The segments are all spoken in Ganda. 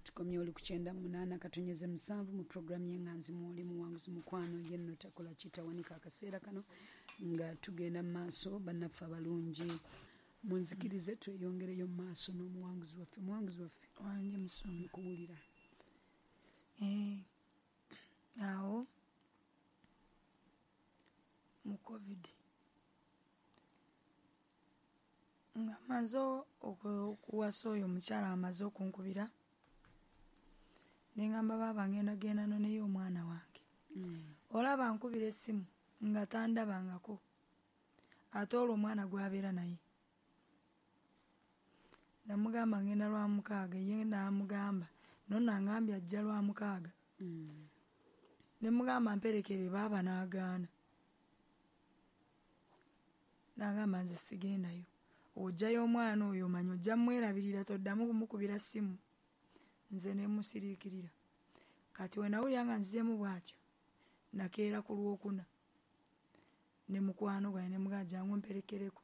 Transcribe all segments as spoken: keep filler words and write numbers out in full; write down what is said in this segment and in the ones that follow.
Tukomye oli ku kyenda munaana katonyeze musanvu mu programu y'Enganzi mwoli muwanguzi mukwano yenno takola kitawanika. Akaseera kano nga tugenda mu maaso, bannaffe abalungi, munzikirize tweyongereyo mu maaso n'omuwanguzi waffe. Muwanguzi waffe. Wange musomi. Nkuwulira. Eh, awo mu COVID nga maze okuwasa oyo omukyala, amaze okunkubira nengamba, "Baaba, ngenda genda noneyo omwana wange." Mm. Olaba nkubira essimu nga tandabangako, ate olwo omwana gwabeera naye. Namugamba ngenda lwa mukaaga, ye namugamba nno nangambye ajja lwa mukaaga. Mm. Ne mugamba mperekere baaba, n'agaana, nagamba nze sigendayo, ojjayo omwana oyo omanyi ojja mwerabirira, toddamu kumukubira ssimu. Nze nemusiriikirira. Kati we nawulira nga nzizeemu bw'atyo, nakeera ku Lwokuna ne mukwano gwange, ne mugamba jangu mperekereko,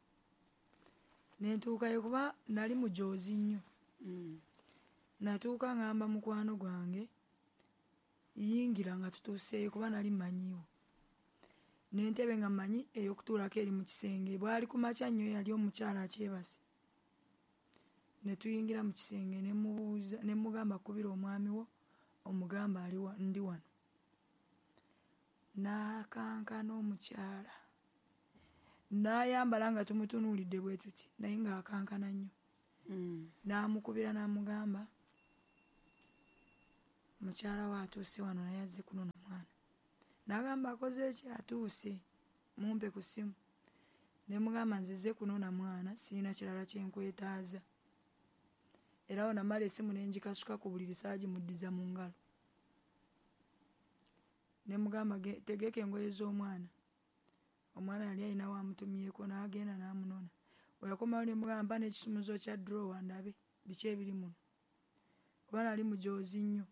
nentuukayo kuba nali mujoozi nnyo. Mm. Natuuka ngamba mukwano gwange yingira nga tutuuseeyo, kuba nali mmanyiiwo n'entebe nga mmanyi ey'okutuulako eri mu kisenge. Bwali ku makya nnyo, yali omukyala akyebase. Ne tuyingira mu kisenge, ne mubuuza, ne mugamba, "Kubira omwami wo omugamba ali ndi wano." N'akankana omukyala, n'ayambala nga tumutunuulidde bwe tuti, naye ng'akankana nnyo. Mm. N'amukubira n'amugamba mukyala we atuuse wano, naye azze kunona mwana. N'agamba akoze eki, atuuse, mumpe ku ssimu. Ne mugamba nzize kunona mwana, sirina kirala kyenkwetaaza. Era awo namala essimu ne ngikasuka ku buliri, saagimuddiza mu ngalo. Ne mugamba tegeka engoye z'omwana. Omwana yali alina wamutumyeko, n'agenda n'amunona. We yakomawo ne mugamba mpa n'ekisumuzo kya drawer ndabe biki ebiri muno, kuba nali mujoozi nnyo.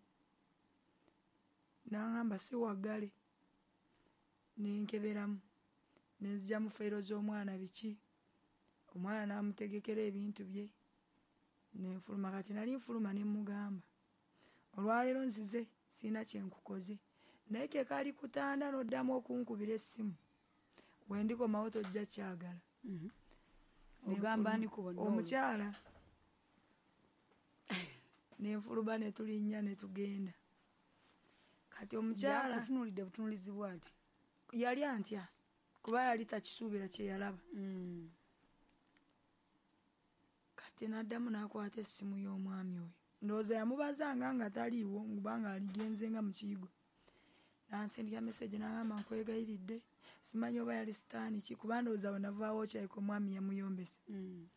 N'aŋŋamba si waggale. Ne nkeberamu, ne nzigyamu fayiro z'omwana biki, omwana n'amutegekera ebintu bye, ne nfuluma. Kati nali nfuluma ne mugamba, olwaleero nzize sirina kye nkukoze, naye ke kali kutanda n'oddamu okunkubira essimu, we ndikomawo tojja kyagala. Mm -hmm. Ogamba ani ku bonna? Omukyala. Nenfuluma ne tulinnya ne tugenda. Kati omukyala yakutunuulidde butunuulizi bw'ati? Yali antya kuba yali takisuubira kye yalaba. Mm. Kati n'addamu n'akwata essimu y'omwami oyo, ndowooza yamubazanga nga taliiwo kubanga aligenze nga mu kiyigo. N'ansindika message n'agamba nkwegayiridde, simanyi oba yali sitaani ki, kuba ndowooza we navaawo kyayika omwami yamuyombesa. Mm.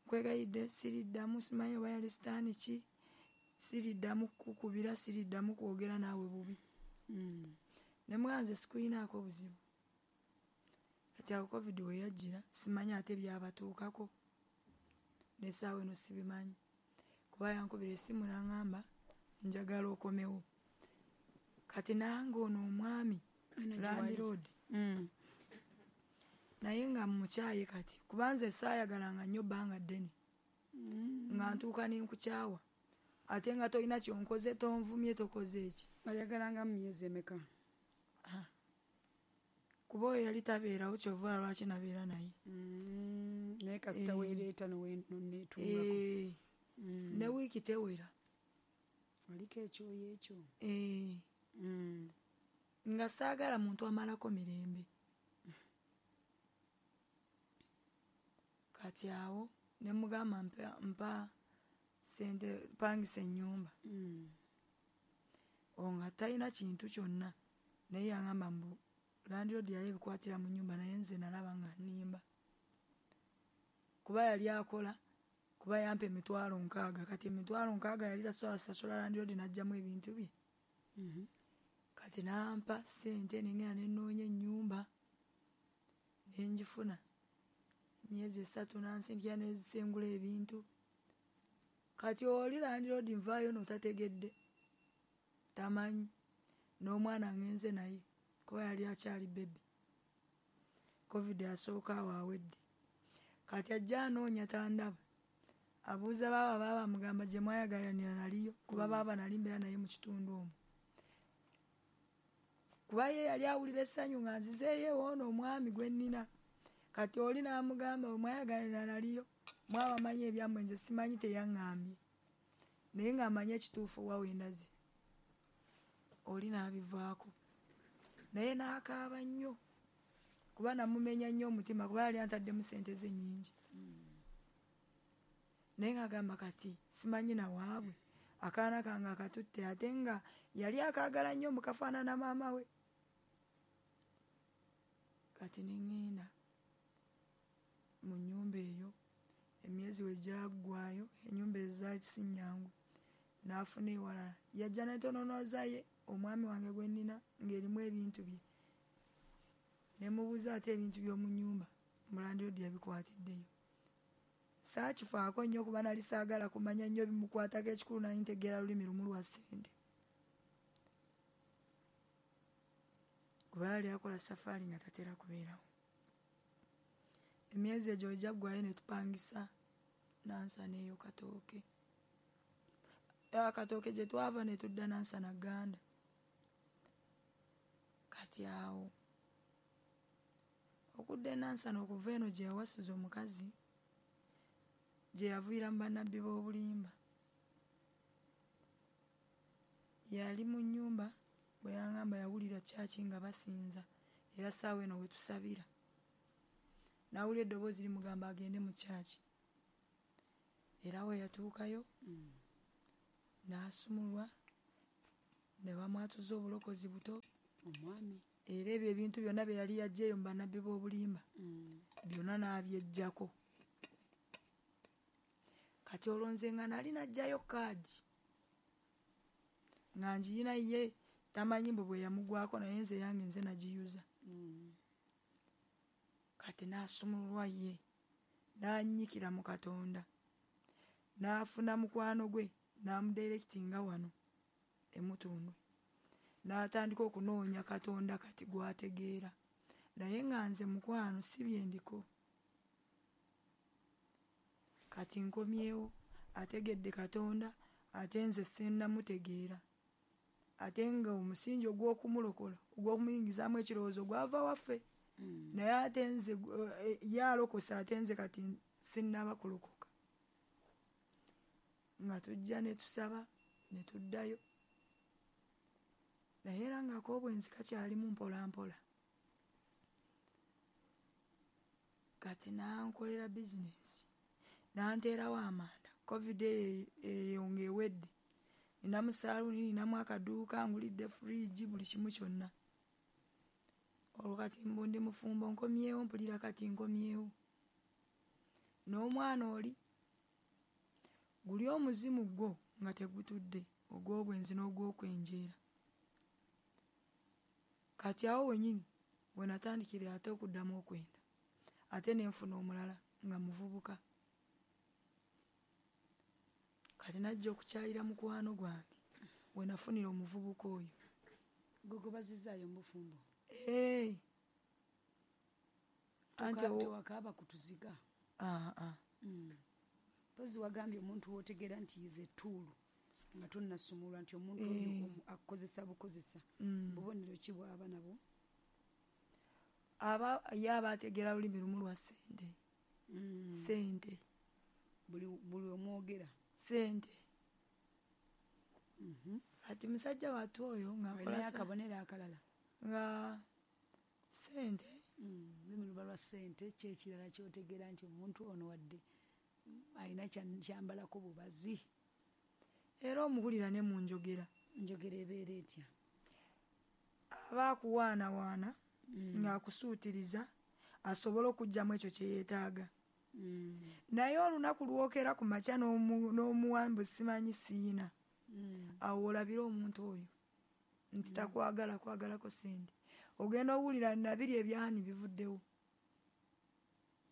Nkwegayiridde siriddamu, simanyi oba yali sitaani ki, siriddamu kukubira, siriddamu kwogera naawe bubi. Mm. Ne mugamba nze sikuyinaako buzibu. Kati awo COVID we yajjira, simanyi ate byabatuukako, n'essaawa eno sibimanyi, kuba yankubira essimu n'aŋŋamba njagala okomewo. Kati nange ono omwami landlord Mm. naye nga mukyaye kati, kuba nze saayagalanga nnyo bbanga ddene. Mm. Nga ntuuka ne nkukyawa, ate nga tolina kyonkoze, tonvumye, tokoze eki. Oyagalanga mu myezi emeka? Kuba oyo yali tabeerawo, kyova lwaki nabeera naye. Mm. Naye kasita Eh. weereeta noneetungako. Eh, Mm. ne wiiki tewera. Oliko ekyoyo ekyo. Eh, Mm. nga saagala muntu amalako mirembe. Kati awo ne mugamba mpa, mpa sente pangisa ennyumba. Mm. Olwo nga talina kintu kyonna, naye yaŋŋamba mbu landlord yali ebikwatira mu nnyumba, naye nze nalaba nga nnimba, kuba yali akola, kuba yampa emitwalo nkaaga. Kati emitwalo nkaaga yali tasobola sasula landlord n'aggyamu ebintu bye. Mm -hmm. Kati n'ampa ssente, nengenda ne nnoonya ennyumba ne ngifuna. Emyezi esatu n'ansindikira n'ezisengula ebintu. Kati oli landlord nvaayo notategedde, tamanyi n'omwana ngenze naye kuba yali akyali baby. COVID asooka awo awedde. Kati ajja anoonya tandaba. Abuuza baaba, baaba amugamba gye mwayagalanira naliyo, kuba baaba nali mbeera naye mu kitundu omwo. Kuba ye yali awulira essanyu nga nzizeeyo ewoono omwami gwe nnina. Kati oli n'amugamba bwe mwayagalanira naliyo, mwaba amanyi ebyammwe nze simanyi teyaŋŋambye. Naye ng'amanyi ekituufu wa we ndaze. Oli n'abivaako. Naye n'akaaba nnyo. Kuba namumenya nnyo omutima kuba yali antaddemu ssente ze nnyingi. Naye ng'agamba kati simanyi na waabwe. Akaana kange akatutte ate nga yali akaagala nnyo mukafaanana maama we. Kati ne ŋŋenda mu nnyumba eyo, emyezi we gyaggwaayo, ennyumba ezo zaali si nnyangu. N'afuna ewalala. Yajja n'entononoza ye omwami wange gwe nnina ng'erimu ebintu bye. Ne mubuuza ate ebintu by'omu nnyumba, mulandiroodi yabikwatiddeyo. Saakifaako nnyo kuba nali saagala kumanya nnyo bimukwatako, ekikulu nali ntegeera lulimi lumu lwa ssente. Kuba yali akola safaari nga tatera kubeerawo. Emyezi egyo we gyaggwaayo ne tupangisa Nansana eyo Katooke. Akatooke gye twava ne tudda Nansana Gganda. Kati awo okudda e Nansana okuva eno gye yawasiza omukazi gye yaviira mu bannabbi b'obulimba. Yali mu nnyumba bwe yangamba yawulira kyaki nga basinza era ssaawa eno we tusabira. N'awulira eddoboozi limugamba agende mu kyaki. Era we yatuukayo n'asumulwa ne bamwatuza obulokozi buto. Omwami. Era ebyo ebintu byonna bye yali yaggyeeyo mu bannabbi b'obulimba byonna n'abyeggyako. Kati olwo nze nga nali naggyayo kaadi nga ngiyina ye tamanyi mbu bwe yamugwako naye nze yange nze nagiyuza. Kati n'asumululwa ye n'annyikira mu Katonda n'afuna mukwano gwe n'amudirectinga wano e Mutundwe. N'atandika okunoonya Katonda kati gw'ategeera. Naye nga nze mukwano si bye ndiko. Kati nkomyewo ategedde Katonda ate nze sinnamutegeera. Ate nga omusingi ogw'okumulokola ogw'okumuyingizaamu ekirowoozo gwava waffe. Naye ate nze ye alokose ate nze kati sinnaba kulokoka. Nga tujja ne tusaba ne tuddayo. Naye era ng'ak'obwenzi kakyalimu mpola mpola. Kati n'ankolera bizinensi. N'anteerawo amanda. Covid eyo ng'ewedde. Ninamu saaluuni, ninamu akaduuka, ngulidde fridge, buli kimu kyonna. Olwo kati mbu ndi mufumbo nkomyewo mpulira kati nkomyewo. N'omwana oli guli omuzimu gwo nga tegutudde ogw'obwenzi n'ogw'okwenjeera. Kati awo wennyini we natandikira ate okuddamu okwenda. Ate ne nfuna omulala nga muvubuka. Kati najja okukyalira mukwano gwange we nafunira omuvubuka oyo. Gwe gwe mu bufumbo? Ee. Anti tewakaaba kutuziga? Ah ah. Mpozi wagambye omuntu w'otegeera nti ze ttuulu nga tonnasumulwa nti omuntu oyo akukozesa bukozesa. Bubonero ki bw'aba nabwo? Aba ye aba ategeera lulimi lumu lwa ssente. Ssente. Buli buli omwogera? Ssente. Kati musajja wattu oyo ng'akola akabonero akalala? Nga ssente. Lulimi luba lwa ssente ki ekirala ky'otegeera nti omuntu ono wadde alina kyambalako bubazi? Era omuwulira ne mu njogera. Njogera ebeera etya? Aba akuwaanawaana ng'akusuutiriza asobole okuggyamu ekyo kye yeetaaga. Naye olunaku lw'okeera ku makya n'omuwa mbu simanyi siyina. Awo olabira omuntu oyo nti takwagala kwagalako ssente. Ogenda owulira nabiri ebyani bivuddewo.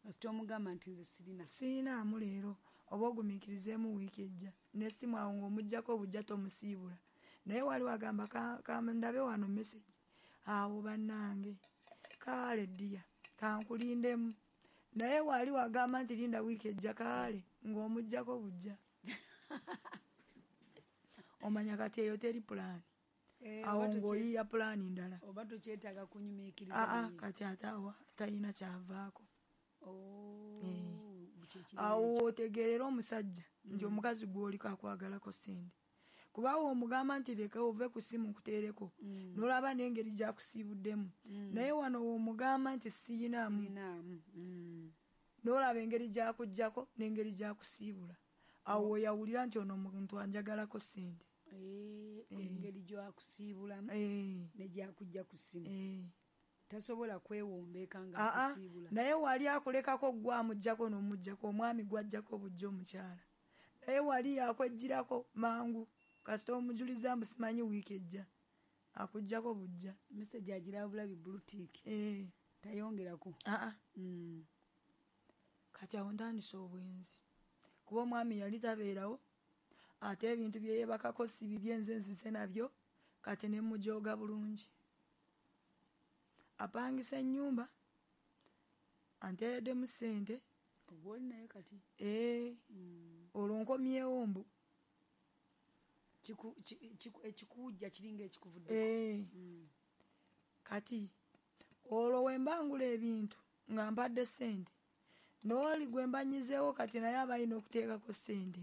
Kasita omugamba nti nze sirina. Siyinaamu leero oba ogumiikirizeemu wiiki ejja. N'essimu awo ng'omuggyako obujja tomusiibula. Naye waliwo agamba kandabe wano message. Awo bannange kaale ddiya kankulindemu. Naye wali wagamba nti linda wiiki ejja kaale. Ng'omuggyako bujja. Omanya kati eyo teri pulaani. Eh, Awo oba toche- ng'oyiiya pulaani ndala. Oba tokyetaaga kunyumiikiriza Aa naye. Kati ate awo talina kyavaako. Oh, kyekiri. Awo otegeerera omusajja nti omukazi gw'oliko akwagalako ssente. Kuba omugamba nti leka ove ku ssimu nkuteereko, n'olaba n'engeri gy'akusiibuddemu. Naye wano w'omugamba nti siyinaamu, Sirinaamu. Mm. n'olaba engeri gy'akuggyako n'engeri gy'akusiibula. Awo weyawulira nti ono omuntu anjagalako ssente. Eh, engeri gy'akusiibulamu Eh, ne gy'akujja ku ssimu. eh. Tasobola kwewombeeka nga Aa, akusiibula. Naye wali akulekako gwe amuggyako n'omuggyako, omwami gw'aggyako bujja omukyala. Naye wali yakweggyirako mangu, kasita omujuliza mbu simanyi wiiki ejja, akuggyako bujja. Message agiraba bulabi blue tick. Eh, Tayongerako. Aa, Mm. kati awo ntandise obwenzi. Kuba omwami yali tabeerawo, ate ebintu bye yeebakako si bibye, nze nzize nabyo, kati ne mujooga bulungi. Apangisa ennyumba, anteereddemu ssente. Ogw'oli naye kati. Ee, Mm. olwo nkomyewo mbu. Kiku- ki- kiku- ekikuwujja kiringa ekikuvuddeko. Ee, Mm. kati olwo we mba ngula ebintu nga mpadde ssente, n'oli gwe mba nnyizeewo kati naye aba alina okuteekako ssente.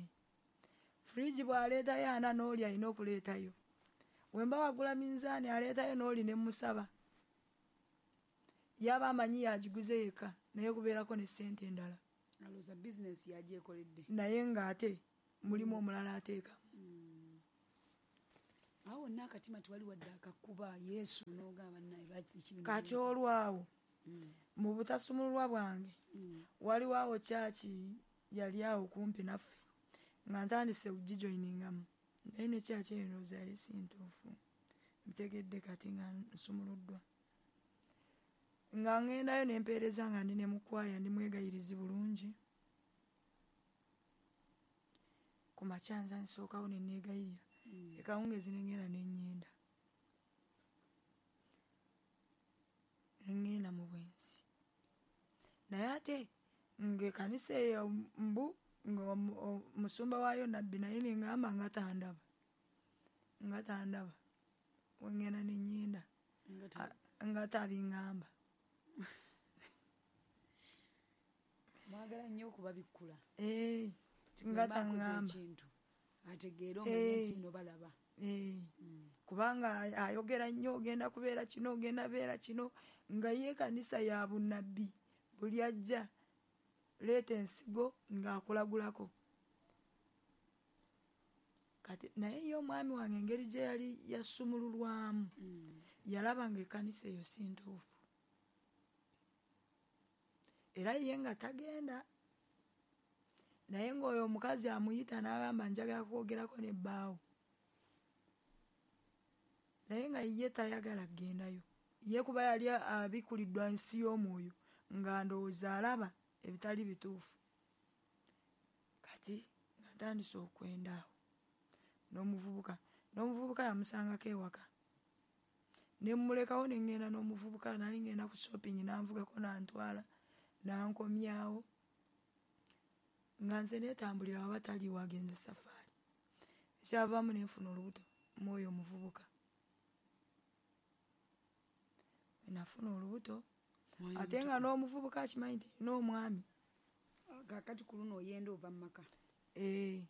Fridge bw'aleetayo ana, n'oli alina okuleetayo. We mba wagula minzaani, aleetayo n'oli ne mmusaba. Yaba amanyi yagiguze yekka, naye kubeerako ne ssente endala. Alowooza bizinesi yagyekoledde. Naye ng'ate mulimu omulala ateekamu. Mm. Awo wonna akatima tewali wadde akakuba Yesu n'ogamba naye lwaki biki bino? Kati olwawo Mm. mu butasumululwa bwange, Mm. waliwo awo kyaki yali awo kumpi naffe nga ntandise okugijoyiningamu, naye ne kyaki eyo ndowooza yali si ntuufu. Ntegedde kati nga nsumuluddwa, nga ŋŋendayo ne mpeereza nga ndi ne mukwaya, ndi mwegayirizi bulungi. Ku makya nza nsookawo ne neegayirira, Mm. ekawungeezi ne ŋŋenda ne ŋŋenda ne ŋŋenda mu bwenzi. Naye ate ng'ekkanisa eyo mbu ng'omusumba waayo nabbi, naye ne ŋŋamba nga tandaba, nga tandaba. We ŋŋenda ne ŋŋenda Nga ta- nga tabiŋŋamba. Mwagala nnyo okubabikkula. Ee, Nti nga bwe mba nkoze taŋŋamba. ekintu, ategeere omanye Eh. nti nno balaba. Ee, Mm. kubanga ayogera nnyo, ogenda kubeera kino, ogenda beera kino, nga ye ekkanisa ya bunnabbi. Buli ajja leeta ensigo ng'akulagulako. Kati naye ye omwami wange engeri gye yali yasumululwamu, Mm. yalaba ng'ekkanisa eyo si ntuufu. Era ye nga tagenda. Naye ng'oyo omukazi amuyita n'agamba njagala kwogerako ne bbaawo. Naye nga ye tayagala kugendayo. Ye kuba yali abikkuliddwa nsi y'omwoyo, nga ndowooza alaba ebitali bituufu. Kati nga ntandise okwenda awo n'omuvubuka. N'omuvubuka yamusangako ewaka. Ne mmulekawo ne ŋŋenda n'omuvubuka, nali ŋŋenda ku shopping n'anvugako n'antwala n'ankomyawo. Nga nze neetambulira waba taliiwo agenze safaari. Ekyavaamu ne nfuna olubuto mu oyo omuvubuka. Bwe nafuna olubuto, Mwami ate nga n'omuvubuka akimanyi nti nina omwami. Kaakati ku luno oyenda ova mu maka. Ee.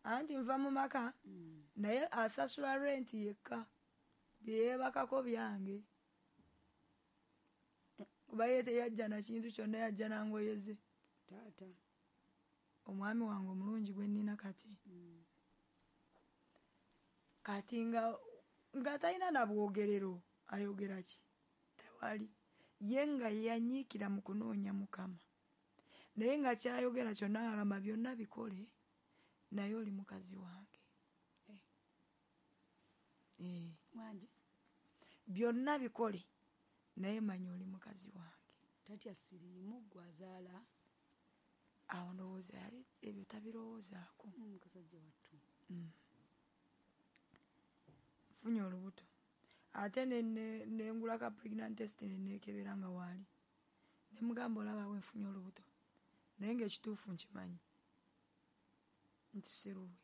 Anti nva mu maka, Mm. naye asasula renti yekka. Bye yeebakako byange. Kuba ye teyajja na kintu kyonna, yajja na ngoye ze. Taata. Omwami wange omulungi gwe nnina kati. Mm. Kati nga, nga talina na bwogerero, ayogera ki? Tewali. Ye nga yanyiikira mu kunoonya Mukama. Naye nga ky'ayogera kyonna agamba byonna bikole, naye oli mukazi wange. Eh. Eh. Wangi? Byonna bikole, naye manya oli mukazi wange. Tatya siriimu gw'azaala. Awo ndowooza yali ebyo tabirowoozaako. Mm, kasajja wattu. Mm. Nfunye olubuto. Ate ne, ne, ne ngulako pregnant test ne neekebera nga waali. Ne mugamba olaba we nfunye olubuto. Naye ng'ekituufu nkimanyi. nti si lulwe,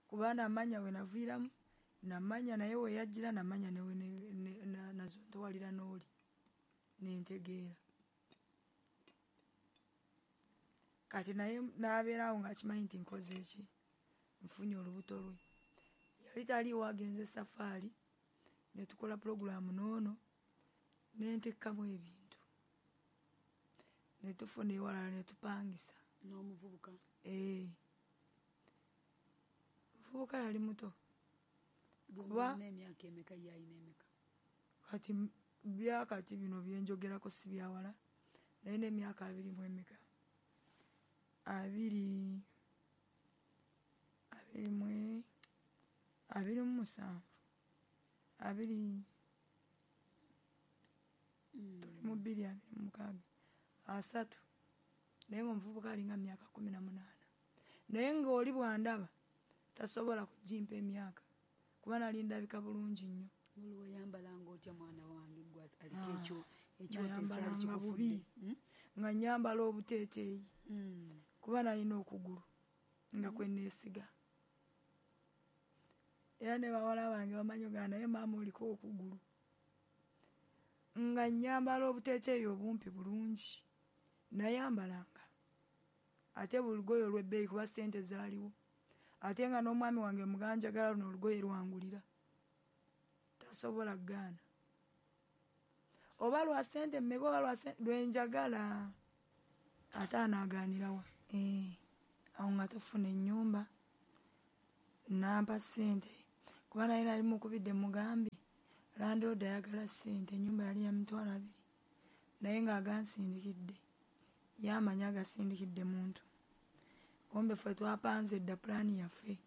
kuba namanya we naviiramu, namanya naye we yajjira, namanya newe nazontowalira n'oli, nentegeera. Kati naye n'abeerawo ng'akimanyi nti nkoze eki, nfunye olubuto lwe. Yali taliiwo, agenze safaari, ne tukola pulogulaamu n'ono, nentekkamu ebintu, ne tufuna ewalala ne tupangisa. N'omuvubuka? Ee, muvubuka yali muto. Kuba emyaka emeka ye alina emeka? Kati byakati bino byenjogerako si byawala, naye n'emyaka abiri mu emeka, abiri abiri mu abiri mu musanvu, abiri tuli mu bbiri abiri mu mukaaga asatu, naye ng'omuvubuka alinga myaka kumi na munaana, naye ng'oli bw'andaba tasobola kugimpa emyaka kuba nali ndabika bulungi nnyo. Oli wayambalanga otya mwana wange gwe aliko ekyo ekyoto ekyali kikufudde? Nga nnyambala obuteeteeyi kuba nalina okugulu nga kwe neesiga, era ne bawala bange bamanyi ogaa naye maama oliko okugulu. Nga nnyambala obuteeteeyi obumpi bulungi, nayambalanga ate buli lugoye olw'ebbeeyi kuba ssente zaaliwo, ate nga n'omwami wange muganjagala luno olugoye lwangulira, tasobola kugaana, oba lwa ssente mmeka oba lwa ssente lwenjagala, ate anaagaanirawa. Eh, awo nga tufuna ennyumba, nampa ssente kuba naye nali mukubidde mugambye landlord ayagala ssente, ennyumba yali ya mitwalo abiri, naye ng'agansindikidde, yamanya agasindikidde muntu. Kumbe ffe twapanze dda pulaani yaffe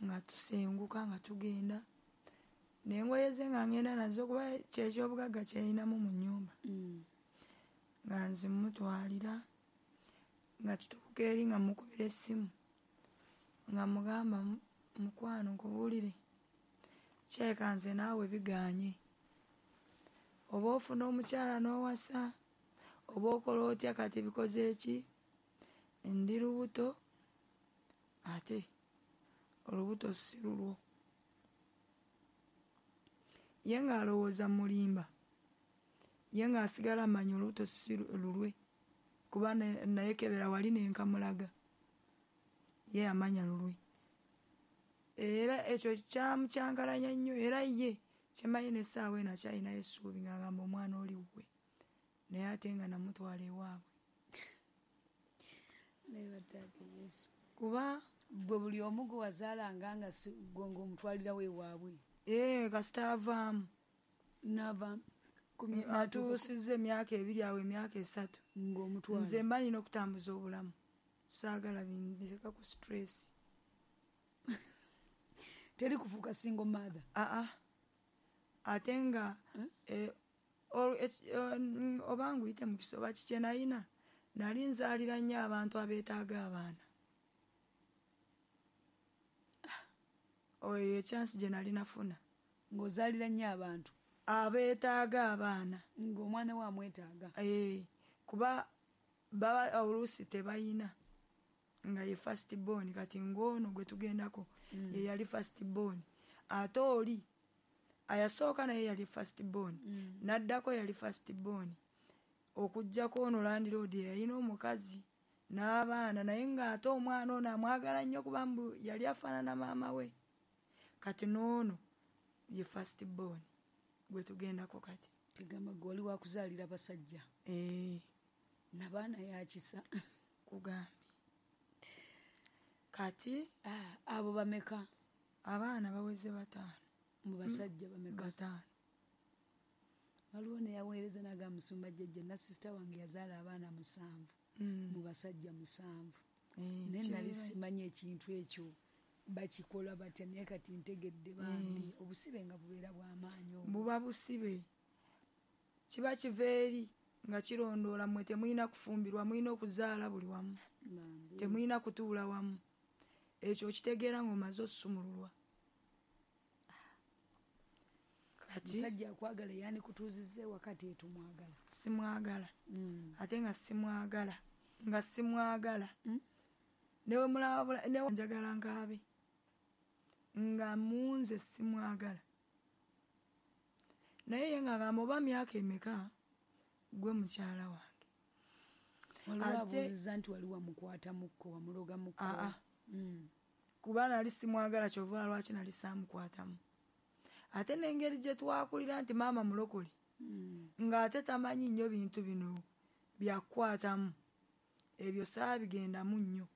nga tusenguka nga tugenda, n'engoye ze nga ngenda nazo kuba kyekyobugagga kyeyinamu mu nnyumba, nga nzimutwalira, nga tutuuka eri nga mukubira essimu nga mugamba mukwano nkubuulire, kyeka nze naawe bigaanye, oba ofuna omukyala n'owasa oba okola otya, kati bikoze eki, ndi lubuto ate olubuto si lulwo. Ye ng'alowooza mulimba, ye ng'asigala amanya olubuto si lulwe kuba naye kebera wali nenkamulaga, ye amanya lulwe. Era ekyo kyamukyankalanya nnyo, era ye kyemanyi n'essaawa eno akyalinayo essuubi ng'agamba omwana oli wuwe, naye ate nga namutwala ewaabwe. Kuba gwe buli omu gwe wazaalanga nga gwe ng'omutwalirawo ewaabwe? Ee, kasita avaamu Nava atuusizza emyaka ebiri awo emyaka esatu, ng'omutwala. Nze mba nina okutambuza obulamu, saagala bindeka ku stress. Teri kufuuka single mother? Aa, ate nga oba nguyite mukisa oba kiki kye nalina, nali nzaalira nnyo abantu abeetaaga abaana. Oyo ekyansi gye nali nafuna. Ng'ozaalira nnyo abantu? Abeetaaga abaana. Ng'omwana we amwetaaga? Ee, kuba baba oluusi tebayina, nga ye first born, kati ng'ono gwe tugendako ye yali first born, ate oli ayasooka naye yali first born, n'addako yali first born, okuggyako ono landlord yalina omukazi n'abaana, naye ng'ate omwana ono amwagala nnyo kuba mbu yali afaanana maama we. Kati n'ono ye first born gwe tugendako kati. Kigamba gwe wali wakuzaalira basajja? Ee. Nabaana yakisa? Kugambye. Kati abo bameka? Abaana baweze bataano. Mu basajja bameka? Bataano. Waliwo neyaweereza n'agamba musumba jjajja na sisita wange yazaala abaana musanvu, mu basajja musanvu, naye nali simanyi ekintu ekyo bakikola batya, naye kati ntegedde bambi obusibe nga bubeera bw'amaanyi obwo. Buba busibe, kiba kiva eri nga kirondoola mmwe temulina kufumbirwa, mulina okuzaala buli wamu, temulina kutuula wamu. Ekyo okitegeera ng'omaze osusumululwa. Kati musajja akwagala yandikutuuzizza ewaka tetumwagala? Simwagala, ate nga simwagala, nga simwagala. Newe mulaba newe njagala nkaabe nga munze simwagala, naye ye ng'agamba oba myaka emeka gwe mukyala wange. Waliwo abuuzizza nti wali wamukwatamuko, wamulogamuko? Aa, Mm. kuba nali simwagala, kyova lwaki nali saamukwatamu. Ate n'engeri gye twakulira nti maama mulokole, Mm. ng'ate tamanyi nnyo bintu bino byakukwatamu, ebyo saabigendamu nnyo,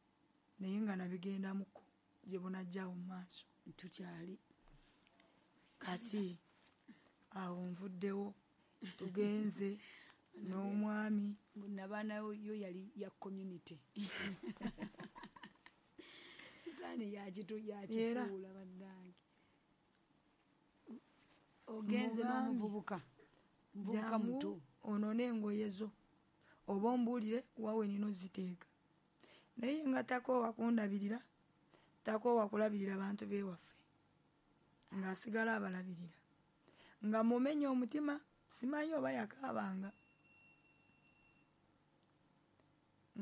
naye nga nabigendamuko gye bunajjawo mu maaso. Tukyali Kati awo nvuddewo, tugenze n'omwami. Nabaana yo yali ya community, sitaani yakitu yakifuula. Bannange, ogenze Mugambi, n'omuvubuka, muvubuka jangu muto. Onone engoye zo oba ombuulire wawe nina oziteeka, naye nga takoowa kundabirira, takoowa kulabirira bantu b'ewaffe, ng'asigala abalabirira, nga mumenya omutima. Simanyi oba yakaabanga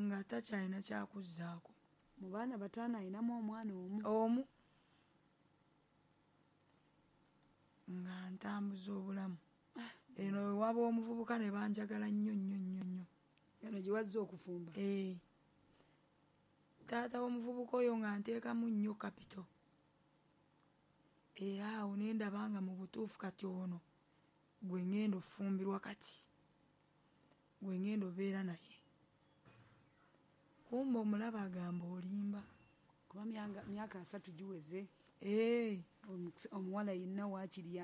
nga takyalina kyakuzzaako. Mu baana bataano ayinamu omwana omu. Omu, nga ntambuza obulamu eno ewaba omuvubuka ne banjagala nnyo nnyo nnyo nnyo. Eno gye wazze okufumba? Ee, taata w'omuvubuka oyo nga nteekamu nnyo capital, era awo ne ndaba nga mu butuufu kati ono gwe ŋŋenda ofumbirwa, kati gwe ŋŋenda obeera naye. Kumbe omulaba agamba olimba. Kuba myanga- myaka asatu giweze. Ee. Omuwala yenna waakiri.